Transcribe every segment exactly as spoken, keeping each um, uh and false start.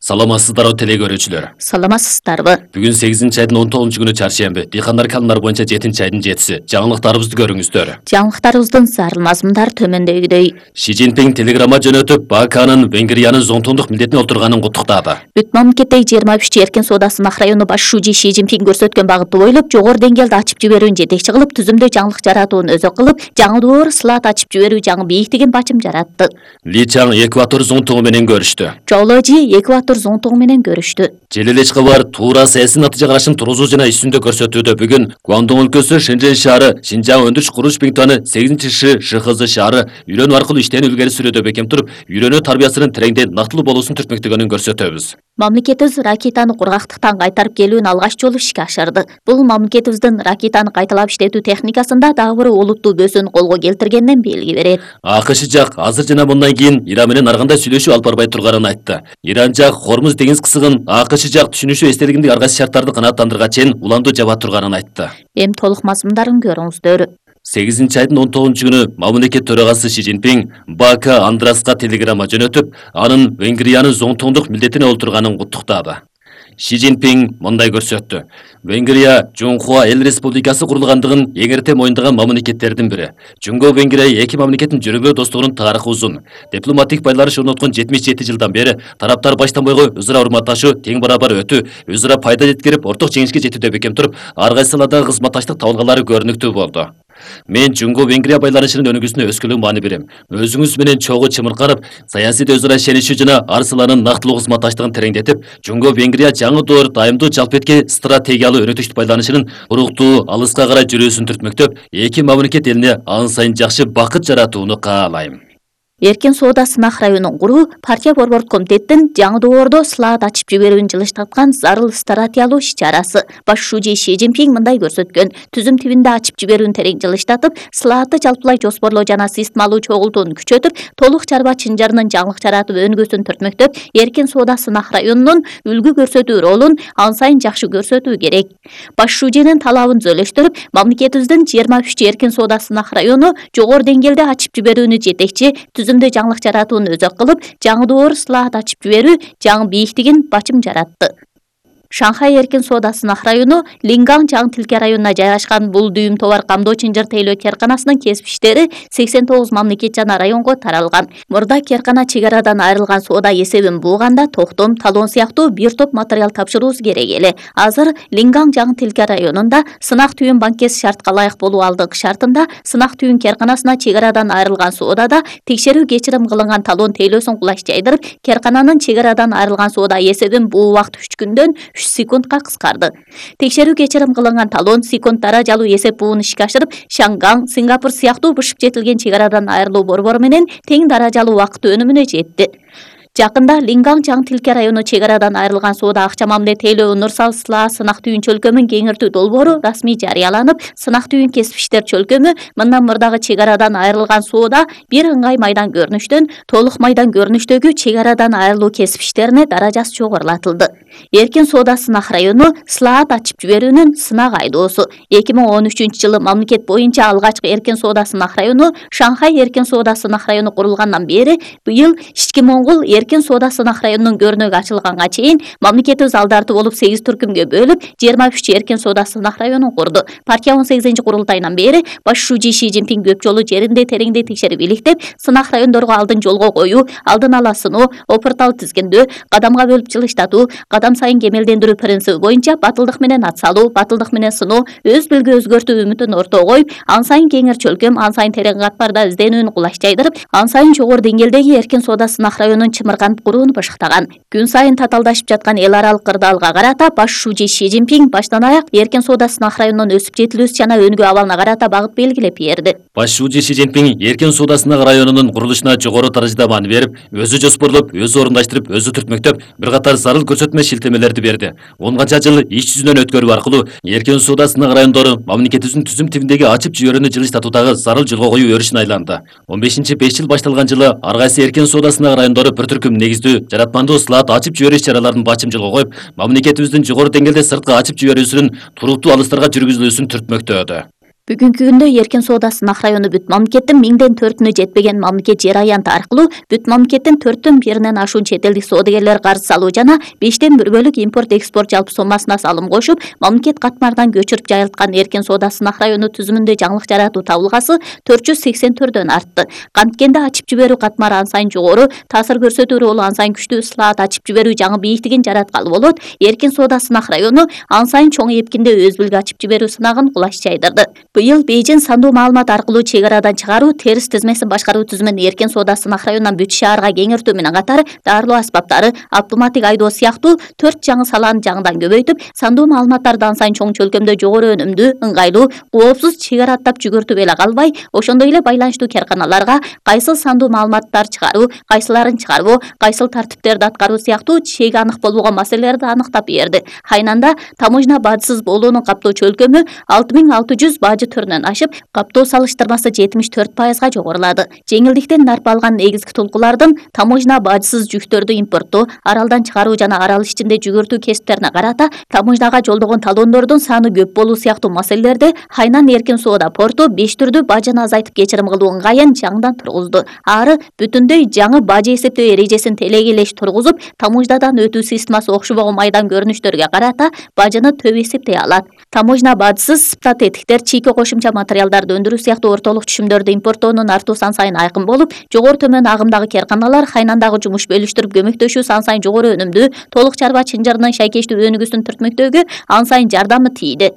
Саламатсыздарбы теле көрүүчүлөр. Саламатсыздарбы. Бүгүн сегизинчи айдын он тогузунчу күнү чаршемби. Дыйкандар календар боюнча жетинчи айдын жетиси. Жаңылыктарыбызды көрүңүздөр. Жаңылыктарыбыздын зарыл мазмундар төмөндөгүдөй. Ши Цзиньпин телеграмма жөнөтүп, Баканын Венгриянын зонтондук милдетине олтурганын куттуктады. Бүт мамлекеттеги жыйырма үч эркин соода сынак району баш шужи Ши Цзиньпин көрсөткөн багытты бойлоп жогору деңгээлде ачып жиберүүнү жетекчи кылып, түзүмдө жаңылык жаратууну өзө кылып, жаңы доор слот ачып жиберүү жаңы бийиктигин бачым жаратты. Ли Чаң Экватор зонтогу менен көрүштү. Жооложи Экватор зонтогу менен көрүштү. Желелечка бар туура саясий натыйжа карашын тургузуу жана иш-жүзүндө көрсөтүүдө бүгүн Гуандун өлкөсү Шэньчжэнь шаары, Шинжаң өндүрүш курулуш Биңтуаны сегизинчи Ш ШХЗ шаары үйрөнүү аркылуу иштени илгери сүрүүдө бекем туруп, үйрөнүү тарбиясынын тереңден нактылуу болуусун түртмөктөгөнүн көрсөтөбүз. Мамлекетибиз ракетаны кургактыктан кайтарып келүүнү алгач жолу ишке ашырды. Бул мамлекетибиздин ракетаны кайталап иштетүү техникасында дагы бир олуттуу бөсүүнү колго келтиргенден белги берет. АКШ жак азыр жана мындан кийин Иран менен ар кандай сүйлөшүү алып барбай турганын айтты. Иран жак Хормуз деңиз кысыгын АКШ жак түшүнүшү эстелигиндеги ар кайсы шарттарды канааттандырганга чейин уланду жаба турганын айтты. Эми толук мазмундарын көрүңүздөр. сегизинчи айдын он тогузунчу күнү мамлекет төрагасы Ши Цзиньпин Бака Андраска телеграмма жөнөтүп, анын Венгриянын зонтондук милдетине олтурганын куттуктады. Ши Цзиньпин мындай көрсөттү. Венгрия Жунхуа эл республикасы курулгандыгын эң эрте моюндаган мамлекеттердин бири. Жунго Венгрия эки мамлекеттин жүргөө достугунун тарыхы узун. Дипломатик байланыш орноткон жетимиш жети жылдан бери тараптар баштан бойго өзара урматташуу, тең барабар өтүү, өзара пайда жеткирип, орток жеңишке жетүүдө бекем туруп, ар кайсы саладагы кызматташтык табылгалары көрүнүктүү болду. Мен Жунго Венгрия байланышынын өнүгүүсүнө өскөлөң маани берем. Өзүңүз менен чогуу чымырканып, саясийде өзара ишенишүү жана ар саланын нактылуу кызматташтыгын тереңдетип, Жунго Венгрия жаңы доор дайымдуу жалпыетке стратегиялуу өнөктүштүк байланышынын уруктуу алыска карай жүрүүсүн түртмөктөп, эки мамлекет элине ан сайын жакшы бакыт жаратууну каалайм. Эркин соода сынак районун куруу партия борбордук комитеттин жаңы доордо слот ачып жиберүүнү жылыштаткан зарыл стратегиялуу иш-чарасы. Баш шужи Ши Цзиньпин мындай көрсөткөн. Түзүм тибинде ачып жиберүүнү терең жылыштатып, слотты жалпылай жоспорлоо жана системалуу чогултууну күчөтүп, толук чарба чынжырынын жаңылык жаратып өнүгүүсүн түртмөктөп, эркин соода сынак районунун үлгү көрсөтүү ролун ан сайын жакшы көрсөтүү керек. Баш шужинин талабын зөөлөштүрүп, мамлекетибиздин жыйырма үч эркин соода сынак району жогору деңгээлде ачып жиберүүнү жетекчи, түзүмдө жаңылык жаратууну өзө кылып, жаңы доор слот ачып жиберүү жаңы бийиктигин бачым жаратты. Шанхай эркин соода сынак району Лингаң Чаң Тилке районуна жайгашкан бул дүйүм товар камдоо чынжыр тейлөө керканасынын кесиптештери сексен тогуз мамлекет жана районго таралган. Мурда керкана чек арадан айрылган соода эсебин бууганда токтом, талон сыяктуу бир топ материал тапшырууубуз керек эле. Азыр Лингаң Чаң Тилке районунда сынак түйүн банкет шартка ылайык болуу алдыңкы шартында сынак түйүн керканасына чек арадан айрылган соодада текшерүү кечирим кылынган талон тейлөөсүн кулаш жайдырып, керкананын чек арадан айрылган соода эсебин буу убакыт үч күндөн үч секундка кыскарды. Текшерүү кечирим кылынган талон секунд даражалуу эсеп буун ишке ашырып, Шангаң, Сингапур сыяктуу бышып жетилген чек арадан айрылуу борбору менен тең даражалуу убакыт өнүмүнө жетти. Жакында Лингаң Чаң Тилке району чек арадан айрылган соода акча мамиле тейлөө Нурсал Сла сынак түйүн чөлкөмүн кеңиртүү долбоору расмий жарыяланып, сынак түйүн кесип иштер чөлкөмү мындан мурдагы чек арадан айрылган соода бир ыңгай майдан көрүнүштөн толук майдан көрүнүштөгү чек арадан айрылуу кесип иштерине даражасы жогорулатылды. Эркин соода сынак району слот ачып жиберүүнүн сынак айдоосу. эки миң он үчүнчү жылы мамлекет боюнча алгачкы эркин соода сынак району Шанхай эркин соода сынак району курулгандан бери быйыл ички Моңгол эркин соода сынак районунун көрүнөгү ачылганга чейин мамлекетибиз алдарты болуп сегиз түркүмгө бөлүп жыйырма үч эркин соода сынак районун курду. Партия он сегизинчи курултайынан бери баш шужи Ши Цзиньпин көп жолу жеринде тереңде текшерип иликтеп, сынак райондорго алдын жолго коюу, алдын ала сыноо, опыртал тизгиндөө, кадамга бөлүп жылыштатуу, кадам сайын кемелдендирүү принциби боюнча батылдык менен ат салуу, батылдык менен сыноо, өз билги өзгөртүү үмүтүн ортого коюп, ан сайын кеңир чөлкөм, ан сайын терең катмарда изденүүнү кулаш жайдырып, ан сайын жогору деңгээлдеги эркин соода сынак районун чымырганып курууну башыктаган. Күн сайын татаалдашып жаткан эл аралык кырдаалга карата баш шужи Ши Цзиньпин баштан аяк эркин соода сынак районунун өсүп жетилүүсү жана өнүгүү абалына карата багыт белгилеп берди. Баш шужи Ши Цзиньпин эркин соода сынак районунун курулушуна жогору даражада маани берип, өзү жоспорлоп, өзү орундаштырып, өзү түртмөктөп, бир катар зарыл көрсөтмө шилтемелерди берди. он канча жыл иш жүзүнөн өткөрүү аркылуу эркин соода сынак райондору мамлекетибиздин түзүм тибиндеги ачып жиберүүнү жылыштатуудагы зарыл жолго коюу өрүшүнө айланды. он бешинчи беш жыл башталган жылы ар кайсы эркин соода сынак райондору бир түркүм негиздүү жаратмандуу слот ачып жиберүү иш-чараларын бачым жолго коюп, мамлекетибиздин жогору деңгээлде сырткы ачып жиберүүсүнүн туруктуу алыстарга жүргүзүлүүсүн түртмөктөдү. Бүгүнкү күндө эркин соода сынак району бүт мамлекеттин миңден төртүнө жетпеген мамлекет жер аянты аркылуу бүт мамлекеттин төрттөн биринен ашуун чет элдик соодагерлер карыз салуу жана бештен бир бөлүк импорт экспорт жалпы соммасына салым кошуп, мамлекет катмарынан көчүрүп жайылткан эркин соода сынак району түзүмүндө жаңылык жаратуу табылгасы төрт жүз сексен төрдөн артты. Канткенде ачып жиберүү катмары ан сайын жогору, таасир көрсөтүү ролу ан сайын күчтүү, слаат ачып жиберүү жаңы бийиктигин жараткалы болот. Эркин соода сынак району ан сайын чоң эпкинде өз бүлгү ачып жиберүү сынагын кулаш жайдырды. Быйыл Бейжин сандуу маалымат аркылуу чек арадан чыгаруу, терс тизмесин башкаруу түзүмүн эркин соода сынак районунан бүт шаарга кеңиртүү менен катары дарылоо аспаптары, автоматтик айдоо сыяктуу төрт жаңы саланы жаңыдан көбөйтүп, сандуу маалыматтарды ан сайын чоң чөлкөмдө жогору өнүмдүү, ыңгайлуу, коопсуз чек ара аттап жүгүртүп эле калбай, ошондой эле байланыштуу карканаларга кайсыл сандуу маалыматтар чыгаруу, кайсыларын чыгарбоо, кайсыл тартиптерди аткаруу сыяктуу чеги анык болбогон маселелерди аныктап берди. Хайнанда таможня бажысыз болуунун каптоо чөлкөмү алты миң алты жүз бажы түрүнөн ашып, каптоо салыштырмасы жетимиш төрт пайызга жогорулады. Жеңилдиктен нарп алган негизги толкулардын таможня бажысыз жүктөрдү импорттоо, аралдан чыгаруу жана арал ичинде жүгүртүү кесиптерине карата таможняга жолдогон талондордун саны көп болуу сыяктуу маселелерди Хайнан эркин соода порту беш түрдүү бажаны азайтып кечирим кылуу ыңгайын жаңыдан тургузду. Ары бүтүндөй жаңы бажы эсептөө эрежесин телегелеш тургузуп, таможнядан өтүү системасы окшобогон майдан көрүнүштөргө карата бажыны төп эсептей алат. Таможня бажысыз сыптат этиктер, чийки кошумча материалдарды өндүрүү сыяктуу ортолук түшүмдөрдү импорттоонун артуу сан сайын айкын болуп, жогору төмөн агымдагы карканалар Хайнандагы жумуш бөлүштүрүп көмөктөшүү сан сайын жогору өнүмдүү, толук чарба чынжырынын шайкештүү өнүгүүсүн түртмөктөөгө ан сайын жардамы тийди.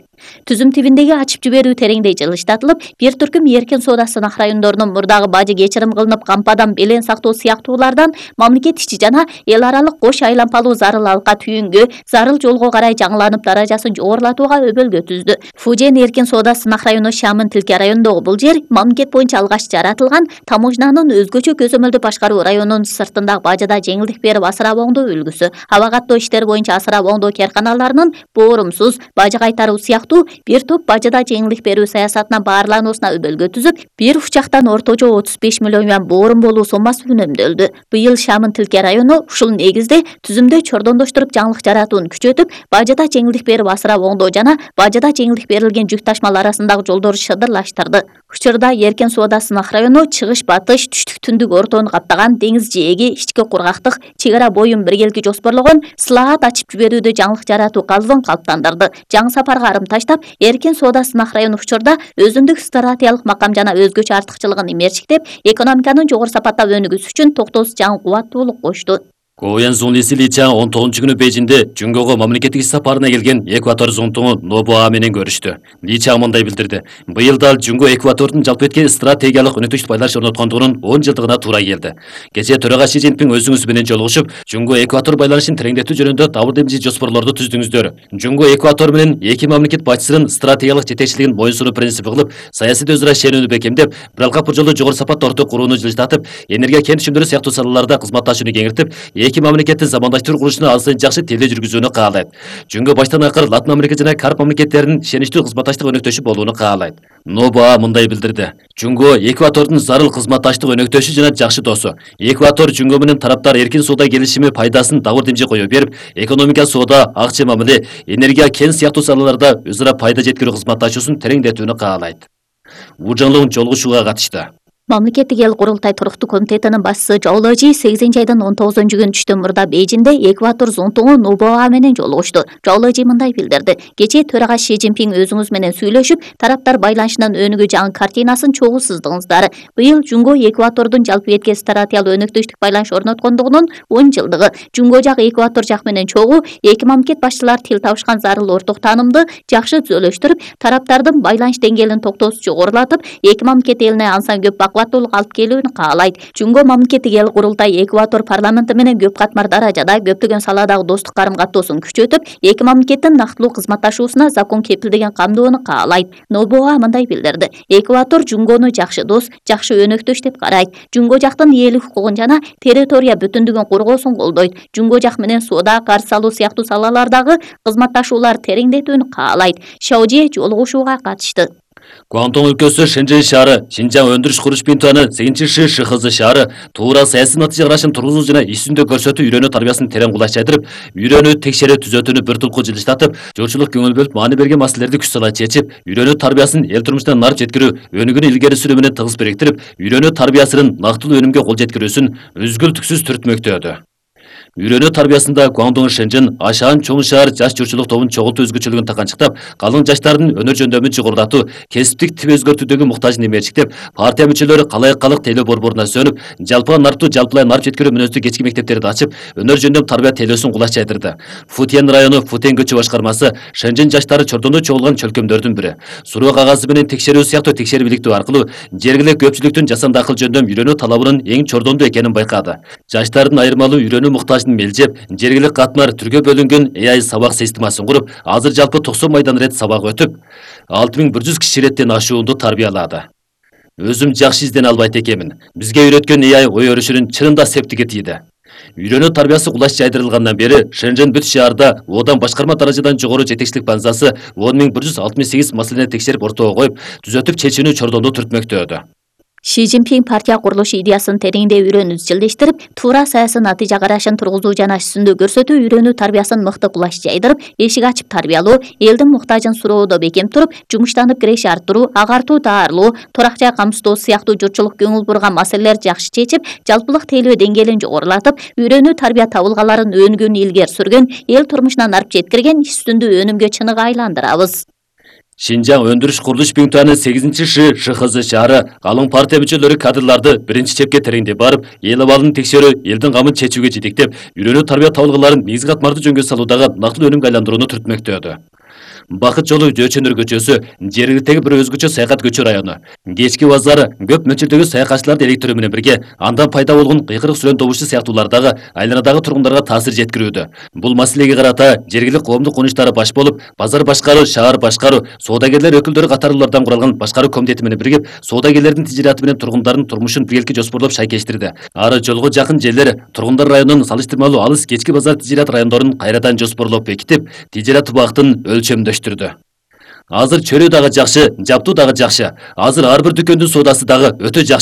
Түзүм тибиндеги ачып жиберүү тереңдей жылыштатылып, бир түркүм эркин соода сынак райондорунун мурдагы бажы кечирим кылынып, кампадан белең сактоо сыяктуулардан мамлекет ичи жана эл аралык кош айлампалуу зарыл алка түйүнгө, зарыл жолго карай жаңыланып даражасын жогорулатууга өбөлгө түздү. Фужен эркин соода сынак району Шамын Тилке районундагы бул жер мамлекет боюнча алгач жаратылган таможнянын өзгөчө көзөмөлдү башкаруу районунун сыртындагы бажыда жеңилдик берип асырап оңдоо үлгүсү. Аба каттоо иштери боюнча асырап оңдоо карканаларынын боорумсуз бажы кайтаруу сыяктуу бир топ бажыда жеңилдик берүү саясатына баарлануусуна өбөлгө түзүп, бир учактан орточо отуз беш миллион юан боорум болуу соммасы үнөмдөлдү. Быйыл Шамын Тилке району ушул негизде түзүмдө чордондоштуруп жаңылык жаратууну күчөтүп, бажыда жеңилдик берип асырап оңдоо жана бажыда жеңилдик берилген жүк ташмалар арасындагы жолдорду шыдырлаштырды. Учурда эркин соода сынак району чыгыш батыш, түштүк түндүк ортоону каптаган деңиз жээги, ички кургактык, чек ара боюн биргелки жоспорлогон слаат ачып жиберүүдө жаңылык жаратуу калыбын калыптандырды. Жаңы сапарга арым таштап, эркин соода сынак району учурда өзүндүк стратегиялык макам жана өзгөчө артыкчылыгын имерчиктеп, экономиканын жогору сапаттап өнүгүүсү үчүн токтоосуз жаңы кубаттуулук кошту. Коуян Зунлиси Личан он тогузунчу күнү Бейжинде Жүнгөгө мамлекеттик иш сапарына келген Эквадор зонтугу Нобуа менен көрүштү. Личан мындай билдирди: быйыл дал Жүнгө Эквадордун жалпы эткен стратегиялык өнөктүш байланыш орноткондугунун он жылдыгына туура келди. Кечээ төрага Си Цзиньпин өзүңүз менен жолугушуп, Жүнгө Эквадор байланышын тереңдетүү жөнүндө табыр демчи жоспорлорду түздүңүздөр. Жүнгө Эквадор менен эки мамлекет башчысынын стратегиялык жетекчилигин моюнсунуу принципи кылып, саясий өзара ишенүүнү бекемдеп, бир алкап жолу жогору сапатта орток курууну жылжытатып, энергия кен түшүмдөрү сыяктуу салаларда кызматташууну кеңиртип, эки мамлекеттин замандаштыруу курулушуна азыр жакшы теле жүргүзүүнү каалайт. Жүнгө баштан акыр Латын Америка жана Карп мамлекеттеринин ишеничтүү кызматташтык өнөктөшү болууну каалайт. Нобуа мындай билдирди: Жүнгө Эквадордун зарыл кызматташтык өнөктөшү жана жакшы досу. Эквадор Жүнгө менен тараптар эркин соода келишими пайдасын табыр демчи кое берип, экономика, соода, акча мамиле, энергия, кен сыяктуу салаларда өзара пайда жеткирүү кызматташуусун тереңдетүүнү каалайт. Ужанлык жолугушууга катышты. Мамлекеттик эл курултай туруктуу комитетинин башчысы Чжоу Лежи сегизинчи айдын он тогузунчу күнү түштөн мурда Бейжинде Эквадор зонтугу Нобуа менен жолугушту. Чжоу Лежи мындай билдирди: кечээ төрага Си Цзиньпин өзүңүз менен сүйлөшүп, тараптар байланышынын өнүгүү жаңы картинасын чогуу сыздыңыздар. Быйыл Жүнгө Эквадордун жалпы эткен стратегиялык өнөктөштүк байланыш орноткондугунун он жылдыгы. Жүнгө жак Эквадор жак менен чогуу эки мамлекет башчылары тил табышкан зарыл орток таанымды жакшы түзөлөштүрүп, тараптардын байланыш деңгээлин токтоосуз жогорулатып, эки мамлекет элине ансан көп бакубаттуулук алып келүүнү каалайт. Жүнгө мамлекеттик эл курултай Эквадор парламенти менен көп катмар даражада көптөгөн саладагы достук карым-каттоосун күчөтүп, эки мамлекеттин нактылуу кызматташуусуна закон кепилдеген камдоону каалайт. Нобуа мындай билдирди: Эквадор Жүнгөнү жакшы дос, жакшы өнөктөш деп карайт. Жүнгө жактын ээлик укугун жана территория бүтүндүгүн коргоосун колдойт. Жүнгө жак менен соода, карыз салуу сыяктуу салалардагы кызматташуулар тереңдетүүнү каалайт. Шаожи жолугушууга катышты. Гуандong өлкөсү Шэньчжэнь шаары, Шинжаң өндүрүш куруш бинтуаны сегизинчи Ши ШХЗ шаары туура саясий натыйжа карашын тургузуу жана иш жүзүндө көрсөтүү үйрөнүү тарбиясын терең кулачтайдырып, үйрөнүү текшерүү түзөтүүнү бир тулку жылыштатып, журчулук көңүл бөлүп маани берген маселелерди күч сала чечип, үйрөнүү тарбиясын эл турмушуна нар жеткирүү, өнүгүүнү илгери сүрүү менен тыгыз бириктирип, үйрөнүү тарбиясынын нактылуу өнүмгө кол жеткирүүсүн үзгүлтүксүз түртмөктөдү. Үйрөнүү тарбиясында Гуандong Шэньчжэнь ашаан чоң шаар жаш журчулук тобун чогултуу өзгөчөлүгүн таканчыктап, калың жаштардын өнөр жөндөмүн жогорулатуу, кесиптик тип өзгөртүүдөгү муктажын эмерчиктеп, партия мүчөлөрү калайык-калык тейлөө борборуна сөнүп, жалпыга нартуу жалпылай нарп жеткирүү мүнөздүү кечки мектептерди ачып, өнөр жөндөм тарбия тейлөөсүн кулачтайдырды. Футен району Футен көчү башкармасы Шэньчжэнь жаштары чордондо чогулган чөлкөмдөрдүн бири. Суроо кагазы менен текшерүү сыяктуу текшерип иликтөө аркылуу жергиликтүү көпчүлүктүн жасанды акыл жөндөм үйрөнүү талабынын эң чордондуу экенин байкады. Жаштардын айырмалуу үйрөнүү муктажын мелжеп, жергиликтүү катмар түргө бөлүнгөн A I сабак системасын куруп, азыр жалпы токсон майдан рет сабак өтүп, алты миң бир жүз киши реттен ашуунду тарбиялады. Өзүм жакшы издене албайт экенмин. Бизге үйрөткөн A I ой өрүшүнүн чынында септиги тийди. Үйрөнүү тарбиясы кулач жайдырылгандан бери Шэньчжэнь бүт шаарда одан башкарма даражадан жогору жетекчилик базасы он миң бир жүз алтымыш сегиз маселени текшерип ортого коюп, түзөтүп чечүүнү чордондо түртмөктөдү. Ши Цзиньпин партия курулуш идеясын тереңдей үйрөнүүсү жылдештирип, туура саясий натыйжа карашын тургузуу жана иш жүзүндө көрсөтүү үйрөнүү тарбиясын мыкты кулач жайдырып, эшик ачып тарбиялоо, элдин муктажын суроодо бекем туруп, жумуштанып киреше арттыруу, агартуу таарылоо, турак жай камсыздоо сыяктуу журтчулук көңүл бурган маселелер жакшы чечип, жалпылык тейлөө деңгээлин жогорулатып, үйрөнүү тарбия табылгаларын өнүгүүнү илгери сүргөн, эл турмушуна нарп жеткирген иш жүзүндө өнүмгө чыныгы айландырабыз. Шинжаң өндүрүш курулуш бинтуаны сегизинчи Ши ШХЗ шаары калың партия мүчөлөрү кадрларды биринчи чепке тереңдеп барып, эл абалын текшерүү, элдин камын чечүүгө жетектеп, үйрөнүү тарбия табылгаларын негизги катмарды жөнгө салуудагы нактылуу өнүмгө айландырууну түртмөктөдү. Бакыт жолу Жөөчөнөр көчөсү, жергиликтеги бир өзгөчө саякат көчө району. Кечки базары көп мөлчөрдөгү саякатчыларды электирүү менен бирге, андан пайда болгон кыйкырык сүрөн добушу сыяктуулардагы айланадагы тургундарга таасир жеткирүүдө. Бул маселеге карата жергиликтүү коомдук курулуштары баш болуп, базар башкаруу, шаар башкаруу, соодагерлер өкүлдөрү катарлуулардан куралган башкаруу комитети менен биригип, соодагерлердин тижираты менен тургундардын турмушун биргеликке жоспорлоп шайкештирди. Ары жолго жакын жерлер тургундар районунун салыштырмалуу алыс кечки базар тижират райондорун кайрадан жоспорлоп бекитип, тижират убактын өлчөмдөштүрдү. Азыр чөрөө дагы жакшы, жаптуу дагы жакшы. Азыр ар бир дүкөндүн соодасы дагы өтө жакшы.